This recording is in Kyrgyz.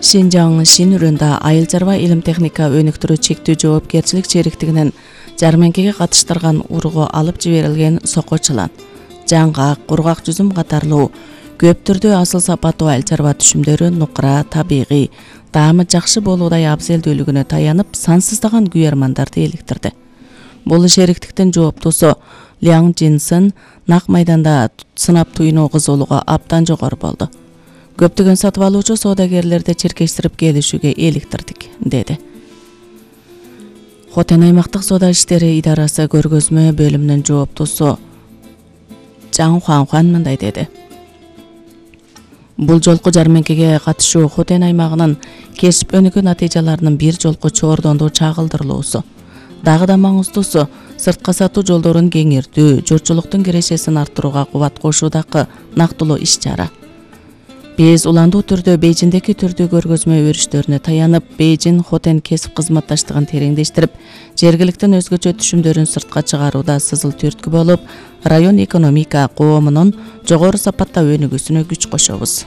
Шинжаң Шинүрөндө айыл чарба илим техника өнүктүрүү чектүү жоопкерчилик чериктигинен жарманкеге катыштырган урго алып жиберилген соко чылан, жаңгак, кургак жүзүм катарлуу көп түрдүү асыл сапаттуу айыл чарба түшүмдөрү нукура, табигый, даамы жакшы болуудай абзелдүүлүгүнө таянып сансыздаган күйөрмандарды иликтирди. Бул шериктиктин жооптусу Ляң Джинсен нак майданда сынап туйноо кызуулугу абдан жогору болду. Көптөгөн сатып алуучу соодагерлерди чиркештирип келишүүгө иликтирдик, деди. Хотен аймактык соода иштери идарасы көргөзмө бөлүмүнүн жооптусу Жаң Хуан мындай деди. Бул жолку жарманкеге катышуу Хотен аймагынын кесип өнүгүү натыйжаларынын бир жолку чоордондуу чагылдырылуусу. Дагы да маңыздуусу сыртка сатуу жолдорун кеңиртүү, журтчулуктун кирешесин арттырууга кубат кошуудагы нактылуу иш-чара. Биз уландуу түрдө Бейжиңдеги түрдүү көргөзмө өрүштөрүнө таянып, Бейжиң Хотен кесип кызматташтыгын тереңдештирип, жергиликтин өзгөчө түшүмдөрүн сыртка чыгарууда сызыл түрткү болуп, район экономика коомунун жогору сапатта өнүгүүсүнө күч кошобуз.